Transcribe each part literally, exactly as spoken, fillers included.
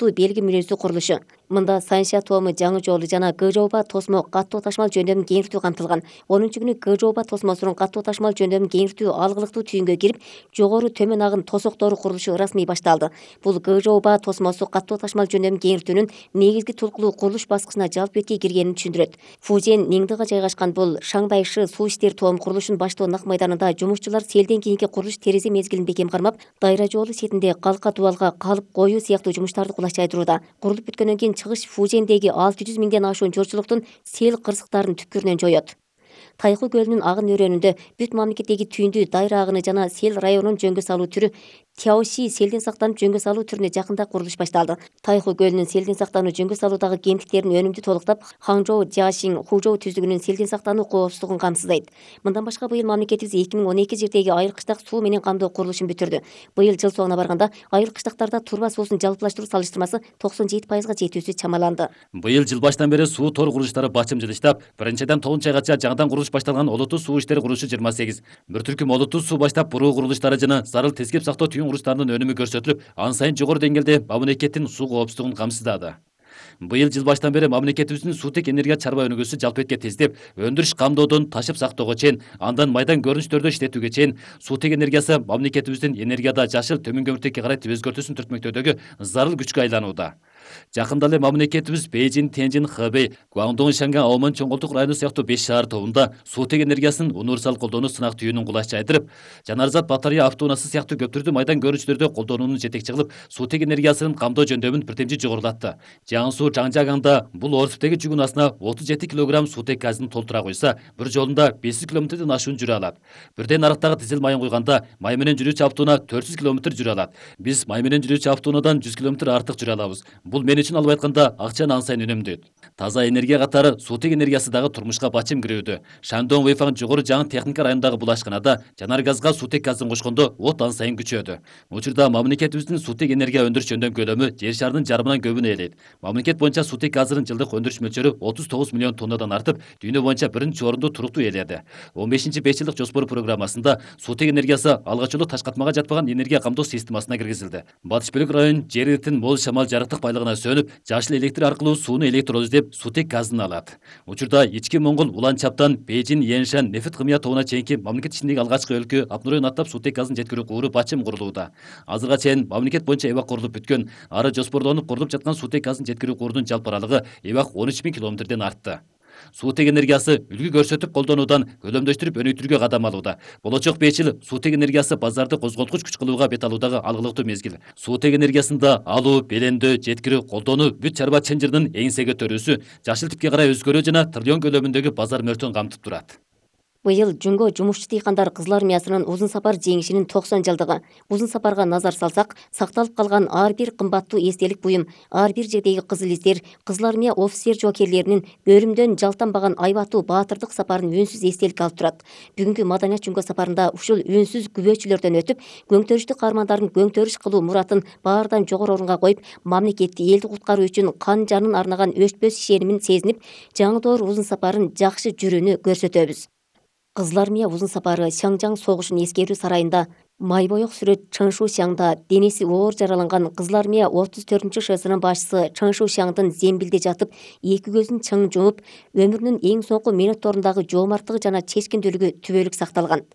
катуу белги мүнөздүү курулушу. Мында Санша Томы жаңы жолу жана Гжоба тосмо катуу ташмал жөндөмүн кеңиртүү камтылган. онунчу күнү Гжоба тосмосунун катуу ташмал жөндөмүн кеңиртүү алгылыктуу түйүнгө кирип, жогору төмөн агын тосоктору курулушу расмий башталды. Бул Гжоба тосмосу катуу ташмал жөндөмүн кеңиртүүнүн негизги толкулуу курулуш баскычына жалпы бетке киргенин түшүндүрөт. Фужен Ниңдыга жайгашкан бул Шаңбайшы суу иштер том курулушун баштоо нак майданында жумушчулар селден кийинки курулуш терезе мезгилин бекем кармап, дайра жолу сетинде калка дубалга калып коюу сыяктуу жумуштарды кулаш жайдырууда. Курулуп бүткөндөн кийин чыгыш Фужендеги алты жүз миңден ашуун журчулуктун сел кырсыктарын түпкүрүнөн жоёт. Тайху көлүнүн агын өрөөнүндө бүт мамлекеттеги түйүндүү дайра агыны жана сел районун жөнгө салуу түрү Тяоши селден сактанып жөнгө салуу түрүнө жакында курулуш башталды. Тайху көлүнүн селден сактануу жөнгө салуудагы кемтиктерин өнүмдүү толуктап, Хаңжоу, Жашин, Хужоу түздүгүнүн селден сактануу коопсуздугун камсыздайт. Мындан башка быйыл мамлекетибиз эки миң он эки жердеги айыл кыштак суу менен камдоо курулушун бүтүрдү. Быйыл жыл соңуна барганда айыл кыштактарда турба суусун жалпылаштыруу салыштырмасы токсон жети пайызга жетүүсү чамаланды. Быйыл жыл баштан бери суу тор курулуштары бачым жылыштап, биринчиден тогузунчу айгача жаңыдан курулуш башталган олуттуу суу иштери курулушу жыйырма сегиз, бир түркүм олуттуу суу баштап буруу курулуштары жана зарыл тескеп сактоо түйүн курулуштарынын өнүмү көрсөтүлүп, ан сайын жогору деңгээлде мамлекеттин суу коопсуздугун камсыздады. Быйыл жыл баштан бери мамлекетибиздин суутек энергия чарба өнүгүүсү жалпы бетке тездеп, өндүрүш камдоодон ташып сактоого чейин, андан майдан көрүнүштөрдө иштетүүгө чейин суутек энергиясы мамлекетибиздин энергияда жашыл төмөн көмүртекке карай өзгөртүүсүн түртмөктөөдөгү зарыл күчкө айланууда. Жакында эле мамлекетибиз Бейжин, Тенжин, Хэбэй, Гуандong, Шанган, Аоман, Чоңголтук району сыяктуу беш шаар тобунда суутек энергиясынын универсал колдонуу сынак түйүнүн кулаш жайдырып, Жанарзат Батария автоунаасы сыяктуу көп түрдүү майдан көрүнүштөрдө колдонууну жетекчи кылып, суутек энергиясынын камдоо жөндөмүн бирдемчи жогорулатты. Жаңы суу Жаңжагаңда бул Орсуптеги жүк унаасына отуз жети килограмм суутек газын толтура койсо, бир жолунда беш жүз километрден ашуун жүрө алат. Бирден арыктагы дизель майын куйганда май менен жүрүүчү автоунаа төрт жүз километр жүрө алат. Биз май менен жүрүүчү автоунаадан жүз километр артык жүрө алабыз. Бул мен үчүн алып айтканда акчаны ан сайын үнөмдөйт. Таза энергия катары суутек энергиясы дагы турмушка бачым кирүүдө. Шандон Вэйфан жогору жаңы техника районундагы бул ашканада жанар газга суутек газын кошкондо от ан сайын күчөдү. Учурда мамлекетибиздин суутек энергия өндүрүш жөндөм көлөмү жер шарынын жарымынан көбүн ээлейт. Мамлекет боюнча суутек газынын жылдык өндүрүш мөлчөрү отуз тогуз миллион тоннадан артып, дүйнө боюнча биринчи орунду туруктуу ээледи. он бешинчи беш жылдык жоспор программасында суутек энергиясы алгач жолу таш катмага жатпаган энергия камдоо системасына киргизилди. Батыш бөлүк район жер эритин мол шамал жарыктык байлыгына сөнүп, жашыл электр аркылуу сууну электроз деп суутек газын алат. Учурда ички Моңгол Улан Чаптан Бейжин, Яншан, Нефит Кымыя тобуна чейинки мамлекет ичиндеги алгачкы өлкө Апнуройн аттап суутек газын жеткирүү кууру бачым курулууда. Азырга чейин мамлекет боюнча эбак курулуп бүткөн, ары жоспорлонуп курулуп жаткан суутек газын жеткирүү куурунун жалпы аралыгы эбак он үч миң километрден артты. Суутек энергиясы үлгү көрсөтүп колдонуудан көлөмдөштүрүп өнүктүрүүгө кадам алууда. Болочок беш жыл суутек энергиясы базарды козголткуч күч кылууга бет алуудагы алгылыктуу мезгил. Суутек энергиясында алуу, белемдөө, жеткирүү, колдонуу бүт чарба чынжырынын эңсеге төрүүсү, жашыл типке карай өзгөрүү жана триллион көлөмүндөгү базар мөлтөн камтып турат. Быйыл жөнгө жумушчу дыйкандар Кызыл армиясынын Узун сапар жеңишинин токсон жылдыгы. Узун сапарга назар салсак, сакталып калган ар бир кымбаттуу эстелик буюм, ар бир жердеги кызыл издер, Кызыл армия офицер жоокерлеринин өлүмдөн жалтанбаган айбаттуу баатырдык сапарын үнсүз эстелик алып турат. Бүгүнкү маданият жөнгө сапарында ушул үнсүз күбөчүлөрдөн өтүп, көңтөрүштүү каармандардын көңтөрүш кылуу муратын баардан жогору орунга коюп, мамлекетти, элди куткаруу үчүн кан жанын арнаган өчпөс ишенимин сезинип, жаңы узун сапарын жакшы жүрүүнү көрсөтөбүз. Кызыл армия узун сапары Шаңжаң согушун эскерүү сарайында, майбоек сүрөт Чыңшу Шаңда денеси оор жараланган Кызыл армия отуз төртүнчү ШСынын башчысы Чыңшу Шаңдын зембилде жатып, эки көзүн чың жумуп, өмүрүнүн эң соңку минутторундагы жоомарттыгы жана чечкиндүүлүгү түбөлүк сакталган.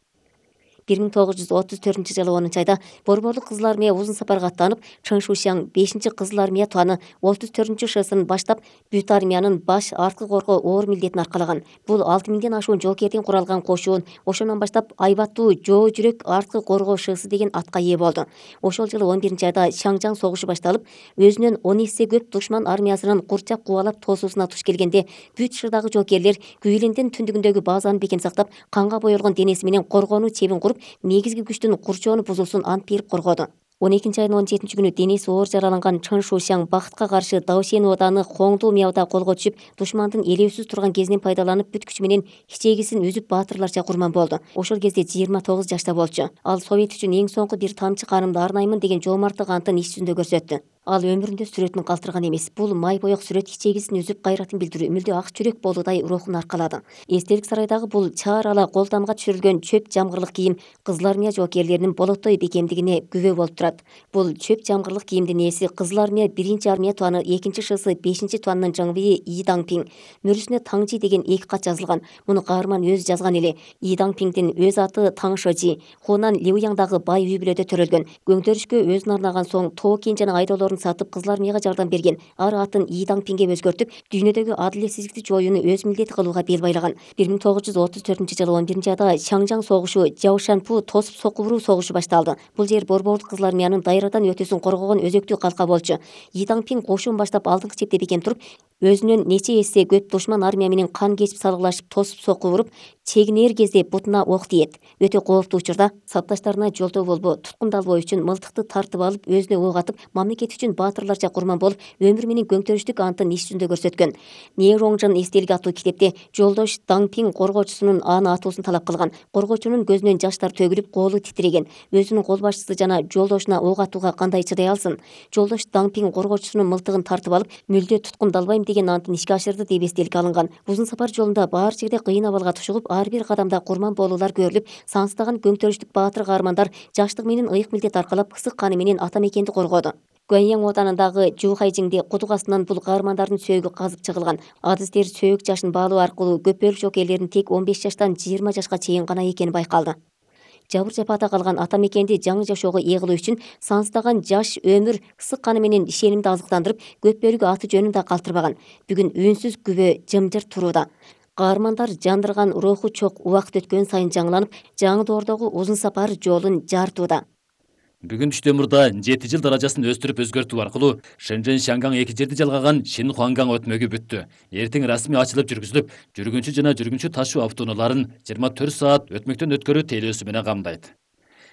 бир миң тогуз жүз отуз төртүнчү жылы онунчу айда Борборлук Кызыл армия узун сапарга аттанып, Чыңшу Шаң бешинчи Кызыл армия туаны отуз төртүнчү ШСын баштап, бүт армиянын баш арткы коргоо оор милдетин аркалаган. Бул алты миңден ашуун жоокерден куралган кошуун ошондон баштап айбаттуу жоо жүрөк арткы коргоо ШС деген атка ээ болду. Ошол жылы он биринчи айда Шаңжаң согушу башталып, өзүнөн он эсе көп душман армиясынын курчап кубалап тосуусуна туш келгенде, бүт шырдагы жоокерлер Күйлендин түндүгүндөгү базаны бекем сактап, канга боелгон денеси менен коргонуу чебин куруп, негизги күчтүн курчоону бузулсун ант берип коргоду. он экинчи айдын он жетинчи күнү денеси оор жараланган Чыңшу Шаң бакытка каршы Даошен ооданы Хоңду Мяуда колго түшүп, душмандын элеусүз турган кезинен пайдаланып, бүт күчү менен ичегисин үзүп баатырларча курман болду. Ошол кезде жыйырма тогуз жашта болчу. Ал Совет үчүн эң соңку бир тамчы канымды арнаймын деген жоомарттык антын иш жүзүндө көрсөттү. Ал өмүрүндө сүрөтүн калтырган эмес. Бул май боек сүрөт ичегисин үзүп кайратын билдирүү, мүлдө ак чүрөк болуудай рухун аркалады. Эстелик сарайдагы бул чаар ала колтамга түшүрүлгөн чөп жамгырлык кийим Кызыл Армия жоокерлеринин болотой бекемдигине күбө болуп турат. Бул чөп жамгырлык кийимдин ээси Кызыл Армия биринчи армия туаны экинчи ШС бешинчи туанынын жыңбийи И Даңпиң. Мөрүсүнө Таңжи деген эки кат жазылган. Муну каарман өзү жазган эле. И Даңпиңдин өз аты Таң Шожи. Хунан Лиуяңдагы бай үй бүлөдө төрөлгөн. Көңтөрүшкө өзүн арнаган соң Тоокин жана айдоолорун сатып Кызыл Армияга жардам берген. Ар атын И Даңпиңге өзгөртүп, дүйнөдөгү адилетсиздикти жоюуну өз милдети кылууга бел байлаган. бир миң тогуз жүз отуз төртүнчү жылы он биринчи айда Шаңжаң согушу, Жаошанпу тосуп сокку согушу башталды. Бул жер Борбордук Кызыл Армиянын дайрадан өтүүсүн коргогон өзөктүү калка болчу. И Даңпиң кошун баштап алдыңкы чепте бекем туруп, өзүнөн нече эсе көп душман армия менен кан кечип салгылашып тосуп сокку уруп, чегинер кезде бутуна ок тиет. Өтө кооптуу учурда сапташтарына жолтоо болбоо, туткундалбоо үчүн мылтыкты тартып алып, өзүнө ок атып, мамлекет үчүн баатырларча курман болуп, өмүр менен көңтөрүштүк антын иш жүзүндө көрсөткөн. Нероңжун эстелиги аттуу китепте жолдош Даңпиң коргоочусунун аны атуусун талап кылган. Коргоочунун көзүнөн жаштар төгүлүп, колу титиреген. Өзүнүн кол башчысы жана жолдошуна ок атууга кандай чыдай алсын? Жолдош Даңпиң коргоочусунун мылтыгын тартып алып, мүлдө туткундалбайм деген антын ишке ашырды деп эстелик алынган. Узун сапар жолунда баар жерде кыйын абалга тушугуп, ар бир кадамда курман болуулар көрүлүп, сансыздаган көңтөрүштүк баатыр каармандар жаштык менен ыйык милдет аркалап, ысык каны менен ата мекенди коргоду. Гуаньяң оданындагы Жухайжиңде кудук астынан бул каармандардын сөөгү казып чыгылган. Адистер сөөк жашын баалоо аркылуу көпөлүк жоокерлердин тек он беш жаштан жыйырма жашка чейин гана экени байкалды. Жабыр жапаата калган ата мекенди жаңы жашоого ээлөө үчүн сансыздаган жаш өмүр ысык каны менен ишенимди азыктандырып, көп бөлүгү аты жөнүн да калтырбаган. Бүгүн үнсүз күбө жымжырт турууда. Каармандар жандырган руху чок убакыт өткөн сайын жаңыланып, жаңы доордогу узун сапар жолун жартууда. Бүгүн түштө мурда жети жыл даражасын өстүрүп өзгөртүү аркылуу Шэньчжэнь Шаңгаң эки жерди жалгаган Шинхуангаң өтмөгү бүттү. Эртең расмий ачылып жүргүзүлүп, жүргүнчү жана жүргүнчү ташуу автоунааларын жыйырма төрт саат өтмөктөн өткөрүү тейлөөсү менен камдайт.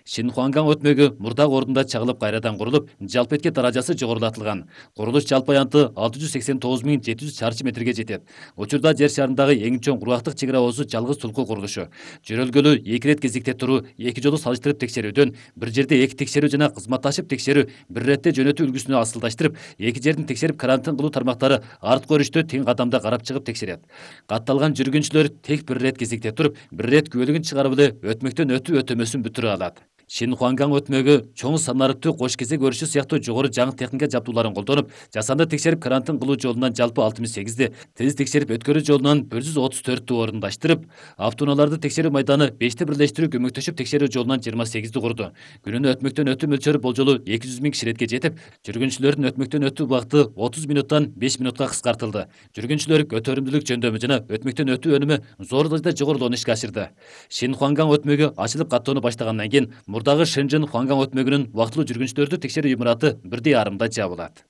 Шинхуангаң өтмөгү мурдагы ордунда чагылып кайрадан курулуп, жалпы этке даражасы жогорулатылган. Курулуш жалпы аянты алты жүз сексен тогуз миң жети жүз чарчы метрге жетет. Учурда жер шарындагы эң чоң кургактык чек ара оозу жалгыз тулку курулушу. Жөрөлгөлү эки ирет кезекте туруу, эки жолу салыштырып текшерүүдөн, бир жерде эки текшерүү жана кызматташып текшерүү, бир иретте жөнөтүү үлгүсүнө асылдаштырып, эки жердин текшерип карантин кылуу тармактары арткы өрүштө тең кадамда карап чыгып текшерет. Катталган жүргүнчүлөр тек бир ирет кезекте туруп, бир ирет күбөлүгүн чыгарып эле өтмөктөн өтүү өтөмөсүн бүтүрө алат. Шинхуангаң өтмөгү чоң санарыптуу кош кезек өрүшү сыяктуу жогору жаңы техника жабдууларын колдонуп, жасанды текшерип карантин кылуу жолунан жалпы алтымыш сегизди, тез текшерип өткөрүү жолунан бир жүз отуз төрттү орундаштырып, автоунааларды текшерүү майданы бешти бирлештирүү көмөктөшүп текшерүү жолунан жыйырма сегизди курду. Күнүнө өтмөктөн өтүү мөлчөрү болжолу эки жүз миң киши иретке жетип, жүргүнчүлөрдүн өтмөктөн өтүү убакыты отуз мүнуттан беш мүнутка кыскартылды. Жүргүнчүлөр көтөрүмдүүлүк жөндөмү жана өтмөктөн өтүү өнүмү зор дажада жогорулоону ишке ашырды. Шинхуангаң өтмөгү ачылып каттоону баштагандан кийин мурдагы Шэньчжэнь Хуангаң өтмөгүнүн убактылуу жүргүнчүлөрдү текшерүү имараты бирдей арымда жабылат.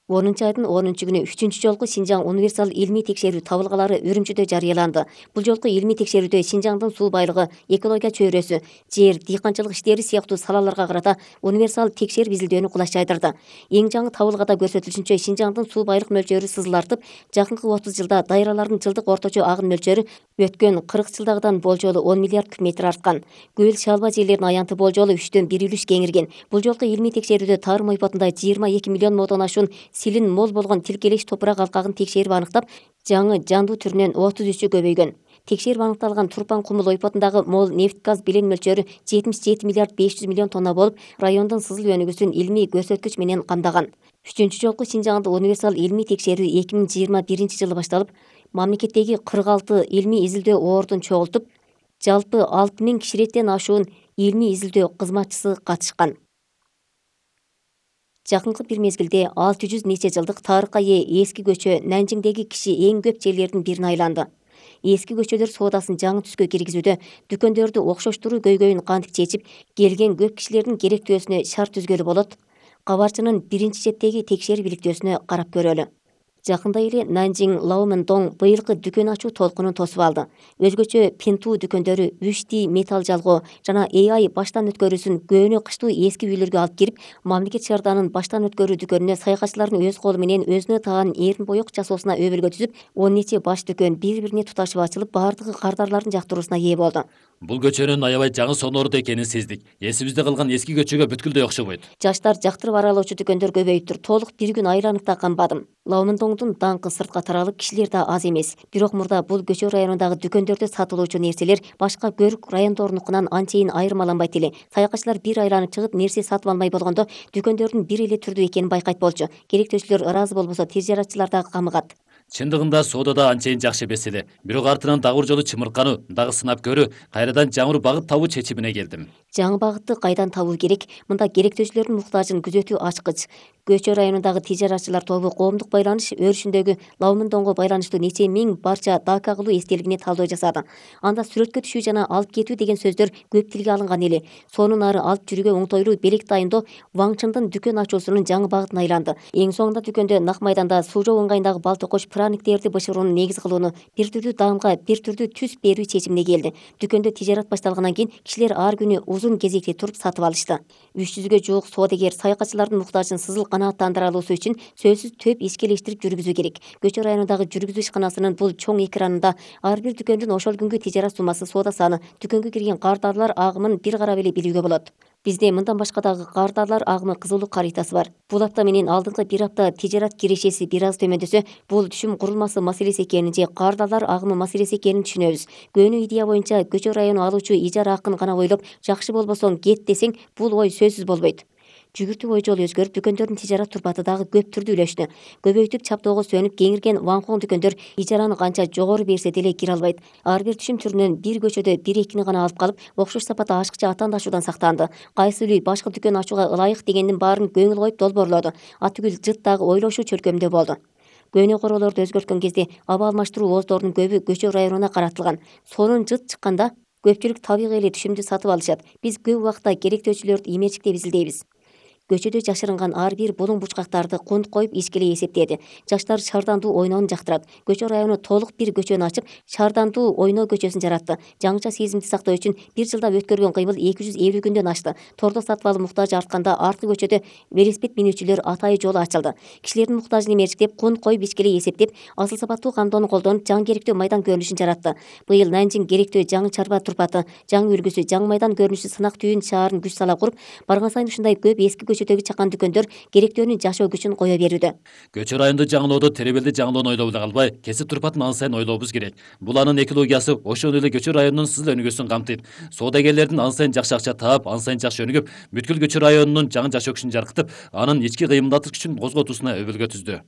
онунчу айдын онунчу күнү үчүнчү жолку Шинжаң универсал илмий текшерүү табылгалары Үрүмчүдө жарыяланды. Бул жолку илмий текшерүүдө Шинжаңдын суу байлыгы, экология чөйрөсү, жер, дыйканчылык иштери сыяктуу салаларга карата универсал текшерип изилдөөнү кулаш жайдырды. Эң жаңы табылгада көрсөтүлүшүнчө Шинжаңдын суу байлык мөлчөрү сызылартып, жакынкы отуз жылда дайралардын жылдык орточо агын мөлчөрү өткөн кырк жылдагыдан болжолу он миллиард куб метр арткан. Көл шалба жерлердин аянты болжолу үчтөн бир үлүш кеңирген. Бул жолку илмий текшерүүдө тарым ойпотунда жыйырма эки миллион модон ашуун силин мол болгон тилкелеш топурак алкагын текшерип аныктап, жаңы жандуу түрүнөн отуз үчү көбөйгөн. Текшерип аныкталган Турпан Кумул ойпотундагы мол нефть газ билен мөлчөрү жетимиш жети миллиард беш жүз миллион тонна болуп, райондун сызыл өнүгүүсүн илмий көрсөткүч менен камдаган. Үчүнчү жолку Шинжаңда универсал илмий текшерүү эки миң жыйырма биринчи жылы башталып, мамлекеттеги кырк алты илмий изилдөө ордун чогултуп, жалпы алты миң киши иреттен ашуун илмий изилдөө кызматчысы катышкан. Жакынкы бир мезгилде алты жүз нече жылдык тарыхка ээ эски көчө Нанжиңдеги киши эң көп жерлердин бирине айланды. Эски көчөлөр соодасын жаңы түскө киргизүүдө, дүкөндөрдү окшоштуруу көйгөйүн кантип чечип, келген көп кишилердин керектөөсүнө шарт түзгөлү болот? Кабарчынын биринчи четтеги текшерип иликтөөсүнө карап көрөлү. Жакында эле Нанжиң Лаомендон быйылкы дүкөн ачуу толкунун тосуп алды. Өзгөчө Пенту дүкөндөрү үч ди металл жалгоо жана эй ай баштан өткөрүүсүн көөнө кыштуу эски үйлөргө алып кирип, мамлекет шаарданын баштан өткөрүү дүкөнүнө саякатчылардын өз колу менен өзүнө таан эрин боек жасоосуна өбөлгө түзүп, он нече баш дүкөн бири-бирине туташып ачылып, баардыгы кардарлардын жактыруусуна ээ болду. Бул көчөнүн аябай жаңы сонорду экенин сездик. Эсибизде калган эски көчөгө бүткүлдөй окшобойт. Жаштар жактырып аралоочу дүкөндөр көбөйүптүр. Толук бир күн айланып да канбадым. Лаумындоңдун даңкы сыртка таралып, кишилер да аз эмес. Бирок мурда бул көчө районундагы дүкөндөрдө сатылуучу нерселер башка көрүк райондорунукунан анчейин айырмаланбайт эле. Саякатчылар бир айланып чыгып, нерсе сатып алмай болгондо дүкөндөрдүн бир эле түрдүү экенин байкайт болчу. Керектөөчүлөр ыраазы болбосо тез жаратчылар да камыгат. Чындыгында соодада анчейин жакшы эмес эле. Бирок артынан дагы бир жолу чымыркануу, дагы сынап көрүү, кайрадан жаңы багыт табуу чечимине келдим. Жаңы багытты кайдан табуу керек? Мында керектөөчүлөрдүн муктажын күзөтүү ачкыч. Көчө районундагы тижаратчылар тобу коомдук байланыш өрүшүндөгү Лаумындоңго байланыштуу нече миң барча дака кылуу эстелигине талдоо жасады. Анда сүрөткө түшүү жана алып кетүү деген сөздөр көп тилге алынган эле. Сонун ары алып жүрүүгө оңтойлуу белек дайындоо Ваңчындын дүкөн ачуусунун жаңы багытына айланды. Эң соңунда дүкөндө нак майданда суу жоо ыңгайындагы балтокош праниктерди бышырууну негиз кылууну, бир түрдүү даамга бир түрдүү түс берүү чечимине келди. Дүкөндө тижарат башталгандан кийин кишилер ар күнү узун кезекте туруп сатып алышты. үч жүзгө жуук соодагер саякатчылардын муктажын сызыл канааттандыра алуусу үчүн сөзсүз төп ишкелештирип жүргүзүү керек. Көчө районундагы жүргүзүү ишканасынын бул чоң экранында ар бир дүкөндүн ошол күнгү тижарат суммасы, соода саны, дүкөнгө кирген кардарлар агымын бир карап эле билүүгө болот. Бизде мындан башка дагы кардарлар агымы кызылдуу каритасы бар. Бул апта менен алдыңкы бир апта тижарат кирешеси бир аз төмөндөсө, бул түшүм курулмасы маселеси экенин же кардарлар агымы маселеси экенин түшүнөбүз. Көөнүү идея боюнча көчө району алуучу ижара акын гана ойлоп, жакшы болбосоң кет десең, бул ой сөзсүз болбойт. Жүгүртүү ой жолу өзгөрүп, дүкөндөрдүн тижарат турпаты дагы көп түрдүүлөштү. Көбөйтүп чаптоого сөнүп кеңирген Ваңкоң дүкөндөр ижараны канча жогору берсе деле кире албайт. Ар бир түшүм түрүнөн бир көчөдө бир экини гана алып калып, окшош сапатта ашыкча атаандашуудан сактанды. Кайсы үй башка дүкөн ачууга ылайык дегендин баарын көңүл коюп долбоорлоду. Атүгүл жыт дагы ойлошуу чөлкөмдө болду. Көөнө короолорду өзгөрткөн кезде аба алмаштыруу ооздорунун көбү көчө районуна каратылган. Сонун жыт чыкканда көпчүлүк табигый эле түшүмдү сатып алышат. Биз көп убакта керектөөчүлөрдү иметчиктеп изилдейбиз. Көчөдө жашырынган ар бир булуң бучкактарды кунт коюп ишкелей эсептеди. Жаштар шардандуу ойноону жактырат. Көчө району толук бир көчөнү ачып, шардандуу ойноо көчөсүн жаратты. Жаңыча сезимди сактоо үчүн бир жылда өткөргөн кыймыл эки жүз элүү күндөн ашты. Тордо сатып алуу муктажы артканда арткы көчөдө велосипед минүүчүлөр атайы жолу ачылды. Кишилердин муктажын эмерчиктеп, кунт коюп ишкелей эсептеп, асыл сапаттуу камдоону колдонуп, жаңы керектөө майдан көрүнүшүн жаратты. Быйыл Нанжин керектөө жаңы чарба турпаты, жаңы үлгүсү, жаңы майдан көрүнүшү сынак түйүн шаарын күч сала куруп, барган сайын ушундай көп эски көчөдөгү чакан дүкөндөр керектөөнүн жашоо күчүн кое берүүдө. Көчө районду жаңылоодо теребелди жаңылоону ойлоп эле калбай, кесип турпатын ан сайын ойлообуз керек. Бул анын экологиясы ошол эле көчө районунун сызыл өнүгүүсүн камтыйт. Соодагерлердин ан сайын жакшы акча таап, ан сайын жакшы өнүгүп, бүткүл көчө районунун жаңы жашоо күчүн жаркытып, анын ички кыймылдатыш күчүн козготуусуна өбөлгө түздү.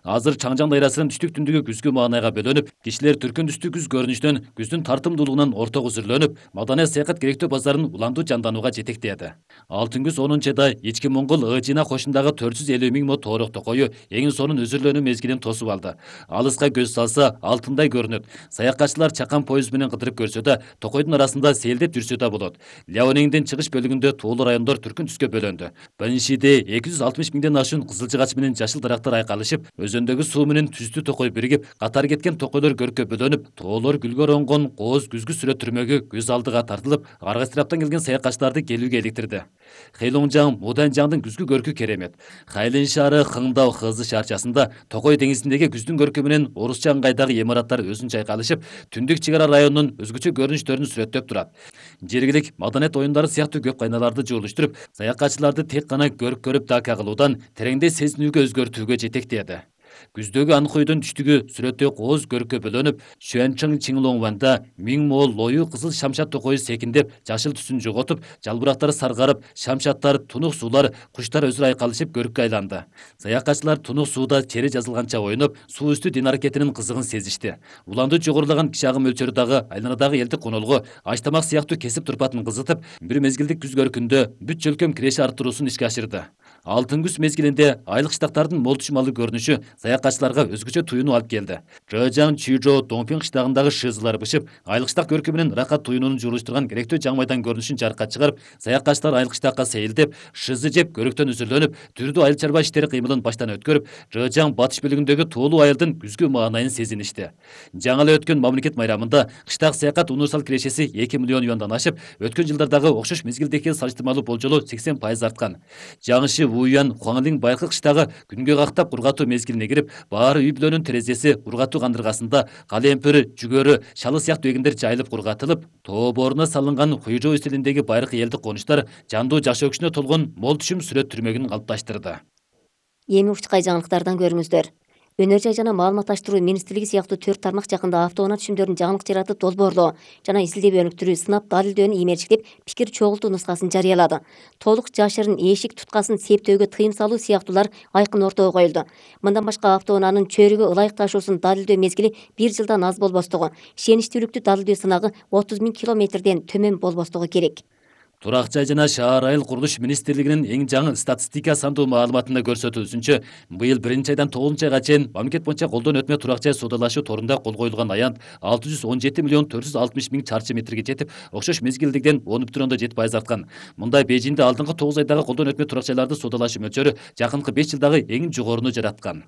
Азыр Чаңжаң дайрасынын түштүк түндүгү күзгү маанайга бөлөнүп, кишилер түркүн түстүү күз көрүнүштөн, күздүн тартымдуулугунан ортого үзүрлөнүп, маданий саякат керектөө базарын уламдуу жанданууга жетектеди. Алтын күз онунчу айда ички Моңгол Ыжына кошундагы төрт жүз элүү миң мо тоорок токою эң сонун үзүрлөнүү мезгилин тосуп алды. Алыска көз салса алтындай көрүнөт. Саякатчылар чакан поезд менен кыдырып көрсө да, токойдун арасында сейилдеп жүрсө да болот. Ляонеңдин чыгыш бөлүгүндө туулуу райондор түркүн түскө бөлөндү. Биринчиде эки жүз алтымыш миңден ашуун кызыл жыгач менен жашыл дарактар айкалышып, өзөндөгү суу менен түстүү токой биригип, катар кеткен токойлор көрккө бөлөнүп, тоолор гүлгө оронгон кооз күзгү сүрөт түрмөгү көз алдыга тартылып, ар кайсы тараптан келген саякатчыларды келүүгө иликтирди. Хэйлоңжаң, Муданжаңдын күзгү көркү керемет. Хайлин шаары Хыңдау Хызы шаарчасында Токой деңизиндеги күздүн көркү менен орусча ыңгайдагы имараттар өзүнчө айкалышып, түндүк чек ара районунун өзгөчө көрүнүштөрүн сүрөттөп турат. Жергилик маданият оюндары сыяктуу көп кайналарды жуулуштуруп, саякатчыларды тек гана көрүп көрүп дака кылуудан тереңдей сезинүүгө өзгөртүүгө жетектеди. Күздөгү Анхойдун түштүгү сүрөттө кооз көрккө бөлөнүп, Шуанчың Чиңлоңванда миң мо лою кызыл шамшат токою секиндеп, жашыл түсүн жоготуп, жалбырактары саргарып, шамшаттар, тунук суулар, куштар өзүрө айкалышып көрккө айланды. Саякатчылар тунук сууда чери жазылганча ойноп, суу үстү дин аракетинин кызыгын сезишти. Уланды жогорулаган киши агым мөлчөрү дагы айланадагы элдик конолго аш-тамак сыяктуу кесип турпатын кызытып, бир мезгилдик күз көркүндө бүт чөлкөм киреши арттыруусун ишке ашырды. Алтын күз мезгилинде айлык штактардын мол түшүм алуу көрүнүшү саякатчыларга өзгөчө туюну алып келди. Чжэжаң, Чижо, Дongping кыштагындагы шызылар бышып, айлык штак көркү менен ракат туюнууну жуулуштурган керектөө жаңы майдан көрүнүшүн жарыкка чыгарып, саякатчылар айлык штакка сейилдеп, шызы жеп, көрөктөн үзүрлөнүп, түрдүү айыл чарба иштери кыймылын баштан өткөрүп, Чжэжаң батыш бөлүгүндөгү тоолуу айылдын күзгү маанайын сезиништи. Жаңы эле өткөн мамлекет майрамында кыштак саякат универсал кирешеси эки миллион юандан ашып, өткөн жылдардагы окшош мезгилдеги салыштырмалуу болжолу сексен пайыз арткан. Жаңыши Вуян, Хуанлин Байкы кыштагы күнгө кактап кургатуу мезгилине кирип, баары үй бүлөнүн терезеси, ургатуу кандыргасында калемпир, жүгөрү, шалы сыяктуу эгиндер жайылып кургатылып, тоо бооруна салынган Хуйжоо стилиндеги байыркы элдик конуштар жандуу жаш өкүшүнө толгон мол түшүм сүрөт түрмөгүн калыпташтырды. Эми учкай жаңылыктардан көрүңүздөр. Өнөр жай жана маалыматташтыруу министрлиги сыяктуу төрт тармак жакында автоунаа түшүмдөрүн жаңылык жаратып долбоорлоо жана изилдөө өнүктүрүү сынап далилдөөнү иймерчиктеп пикир чогултуу нускасын жарыялады. Толук жашырын эшик туткасын септөөгө тыйым салуу сыяктуулар айкын ортого коюлду. Мындан башка автоунаанын чөйрөгө ылайык ташуусун далилдөө мезгили бир жылдан аз болбостугу, ишеничтүүлүктү далилдөө сынагы отуз миң километрден төмөн болбостугу керек. Турак жай жана шаар айыл курулуш министрлигинин эң жаңы статистика сандуу маалыматында көрсөтүлүшүнчө, быйыл биринчи айдан тогузунчу айга чейин мамлекет боюнча колдон өтмө турак жай соодалашуу торунда кол коюлган аянт алты жүз он жети миллион төрт жүз алтымыш миң чарчы метрге жетип, окшош мезгилдигиден он бүтүн ондон жети пайыз арткан. Мындай Бейжиңде алдыңкы тогуз айдагы колдон өтмө турак жайларды соодалашуу мөлчөрү жакынкы беш жылдагы эң жогоруну жараткан.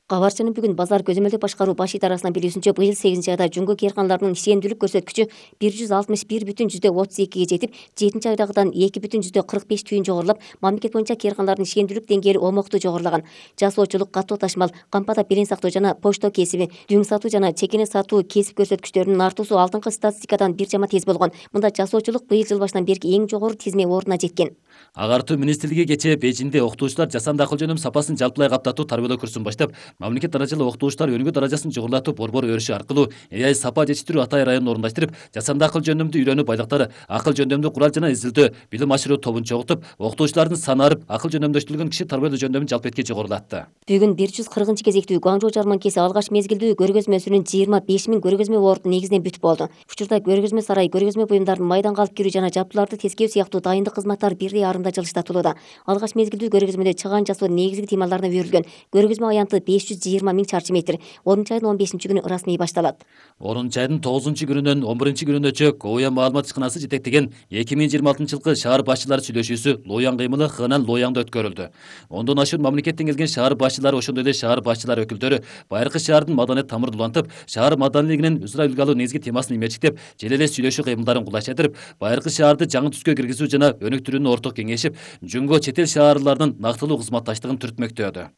Кабарчынын бүгүн базар көзөмөлдөп башкаруу баш идарасынан билүүсүнчө, быйыл сегизинчи айда жүнгө кыйрканаларынын ишендүүлүк көрсөткүчү бир жүз алтымыш бир бүтүн жүздө отуз экиге жетип, жетинчи айдагыдан эки бүтүн жүздө кырк беш түйүн жогорулап, мамлекет боюнча кыйрканалардын ишендүүлүк деңгээли омоктуу жогорулаган. Жасоочулук, катуу ташмал, кампада белең сактоо жана почто кесиби, дүң сатуу жана чекене сатуу кесип көрсөткүчтөрүнүн артуусу алдыңкы статистикадан бир жама тез болгон. Мында жасоочулук быйыл жыл башынан берки эң жогору тизме ордуна жеткен. Агартуу министрлиги кечээ Бейжиңде окутуучулар жасанды акыл жөнөм сапасын жалпылай каптатуу тарбиялоо курсун баштап, мамлекет даражалуу окутуучулар өнүгүү даражасын жогорулатып, борбор өрүшү аркылуу эй ай сапа жетиштирүү Атай районун орундаштырып, жасанды акыл жөнөмдү үйрөнүү байлыктары, акыл жөндөмдүү курал жана изилдөө, билим ашыруу тобун чогултуп, окутуучулардын саны арып, акыл жөнөмдөштүрүлгөн киши тарбиялоо жөндөмүн жалпы этке жогорулатты. Бүгүн бир жүз кыркынчы кезектүү Гуанчжоу жарманкеси алгач мезгилдүү көргөзмөсүнүн жыйырма беш миң көргөзмө орду негизинен бүтүп болду. Учурда көргөзмө сарай, көргөзмө буюмдарын майданга алып кирүү жана жабдууларды тескөө сыяктуу дайындык кызматтары бирдей арымда жылыштатылууда. Алгач мезгилдүү көргөзмөдө чыгаан жасоо негизги темаларына берилген көргөзмө аянты беш жүз жыйырма миң чарчы метр. онунчу айдын он бешинчи күнү ырасмий башталат. онунчу айдын тогузунчу күнүнөн он биринчи күнүнөчө Ковуя маалымат ишканасы жетектеген эки миң жыйырма алтынчы жылкы шаар башчылары сүйлөшүүсү Лоян кыймылы Хынан Лояңда өткөрүлдү. Ондон ашуун мамлекеттен келген шаар башчылары, ошондой эле шаар башчылары өкүлдөрү байыркы шаардын маданият тамырын улантып, шаар маданилигинин өзара үлгү алуу негизги темасын имерчиктеп, желе эле сүйлөшүү кыймылдарын кулайчатырып, байыркы шаарды жаңы түскө киргизүү жана өнүктүрүүнү орток кеңешип, жүнгө чет эл шаарларынын нактылуу кызматташтыгын түртмөктөдү.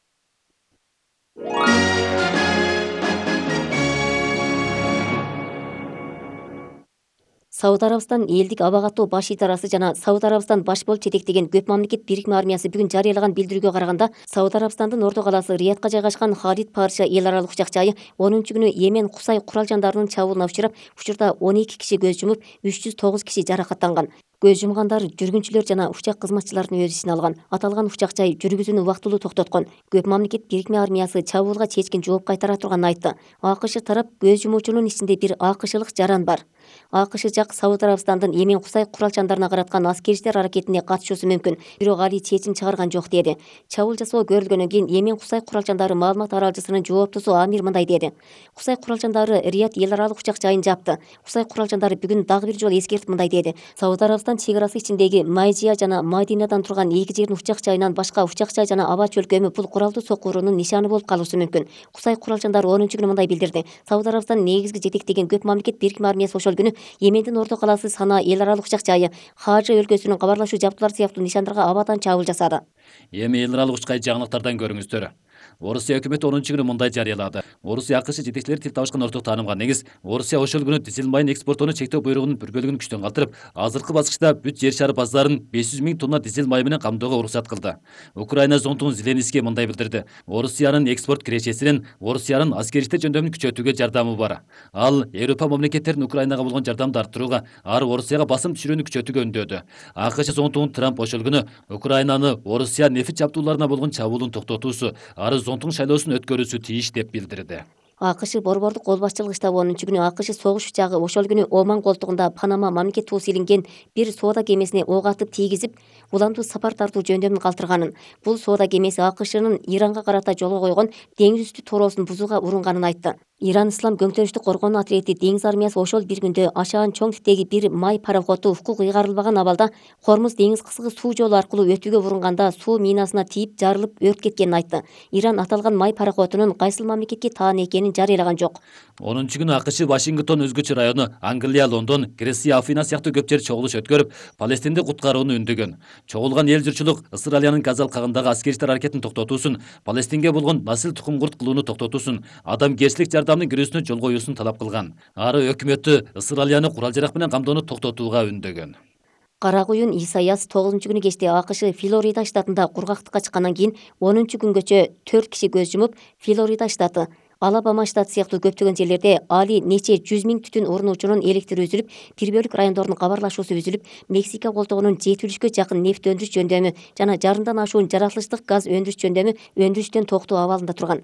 Сауд Арабистан элдик аба каттоо баш идарасы жана Сауд Арабистан баш болуп жетектеген көп мамлекет бирикме армиясы бүгүн жарыялаган билдирүүгө караганда, Сауд Арабистандын орто калаасы Риядка жайгашкан Халид Парша эл аралык учак жайы онунчу күнү Йемен Кусай курал жандарынын чабуулуна учурап, учурда он эки киши көз жумуп, үч жүз тогуз киши жаракаттанган. Көз жумгандар жүргүнчүлөр жана учак кызматчыларын өз ичине алган. Аталган учак жай жүргүзүүнү убактылуу токтоткон. Көп мамлекет бирикме армиясы чабуулга чечкин жооп кайтара турганын айтты. АКШ тарап көз жумуучунун ичинде бир АКШлык жаран бар. АКШ жак Сауд Арабистандын Йемен Кусай курал жандарына караткан аскерчилер аракетине катышуусу мүмкүн, бирок али чечим чыгарган жок деди. Чабуул жасоо көрүлгөндөн кийин Йемен Кусай курал жандары маалымат аралжысынын жооптусу Амир мындай деди. Кусай курал жандары Рият эл аралык учак жайын жапты. Кусай курал жандары бүгүн дагы бир жолу эскертип мындай деди. Сауд Арабистан чек арасы ичиндеги Майжия жана Мадинадан турган эки жердин учак жайынан башка учак жай жана аба чөлкөмү бул куралдуу сокуурунун нишаны болуп калышы мүмкүн. Кусай курал жандары онунчу күнү мындай билдирди. Сауд Арабистан негизги жетектеген көп мамлекет бирикме армиясы ошол күнү Йемендин орто калаасы Сана эл аралык учак жайы, Хажы өлкөсүнүн кабарлашуу жабдуулары сыяктуу нишандарга абадан чабуул жасады. Эми эл аралык учкай жаңылыктардан көрүңүздөр. Орусия өкмөтү онунчу күнү мындай жарыялады. Орусия АКШ жетекчилери тил табышкан орток таанымга негиз, Орусия ошол күнү дизель майын экспортуну чектөө буйругунун бир бөлүгүн күчтөн калтырып, азыркы баскычта бүт жер шары базарын беш жүз миң тонна дизель майы менен камтоого уруксат кылды. Украина зонтугу Зеленский мындай билдирди. Орусиянын экспорт кирешесинин Орусиянын аскери жөндөмүн күчөтүүгө жардамы бар. Ал Европа мамлекеттеринин Украинага болгон жардамды арттырууга, ары Орусияга басым түшүрүүнү күчөтүүгө үндөдү. АКШ зонтугун Трамп ошол күнү Украинаны Орусия нефть жабдууларына болгон чабуулун токтотуусу, ары зонтугун шайлоосун өткөрүүсү тийиш деп билдирди. АКШ борбордук кол башчылыгы штабы онунчу күнү АКШ согуш учагы ошол күнү Оман колтугунда Панама мамлекет туусу илинген бир соода кемесине ок атып тийгизип, уландуу сапар тартуу жөндөмүн калтырганын. Бул соода кемеси АКШнын Иранга карата жолго койгон деңиз үстү тороосун бузууга урунганын айтты. Иран ислам көңтөрүштү коргоонуу отряди деңиз армиясы ошол бир күндө ашаан чоң типтеги бир май пароходу укук ыйгарылбаган абалда Хормуз деңиз кыскы суу жолу аркылуу өтүүгө урunganda суу минасына тийип жарылып өрт кеткенин айтты. Иран аталган май пароходунун кайсыл мамлекетке таан экенин жарыялаган жок. онунчу күнү АКШ Вашингтон өзгөчө району, Англия, Лондон, Греция, Афина сыяктуу көп жер чогулуш өткөрүп, Палестинди куткарууну үндөгөн. Чогулган эл журтчулук Ысыралиянын Газа алкагындагы аскери иштер аракетин токтотуусун, Палестинге болгон насил тукум-курт кылууну токтотуусун, адамгерчилик жардамдын кирүүсүнө жол коюусун талап кылган. Ары өкмөттү Ысыралияны курал-жарак менен камдоону токтотууга үндөгөн. Кара куюн Исайяс тогузунчу күнү кечте АКШ Флорида штатында кургактыкка чыккандан кийин онунчу күнгөчө төрт киши көз жумуп, Флорида штаты, Алабама штаты сыяктуу көптөгөн жерлерде али нече жүз миң түтүн орнуучунун электри үзүлүп, бир бөлүк райондордун кабарлашуусу үзүлүп, Мексика колтогунун жети үлүшкө жакын нефть өндүрүш жөндөмү жана жарымдан ашуун жаратылыштык газ өндүрүш жөндөмү өндүрүштөн токтоо абалында турган.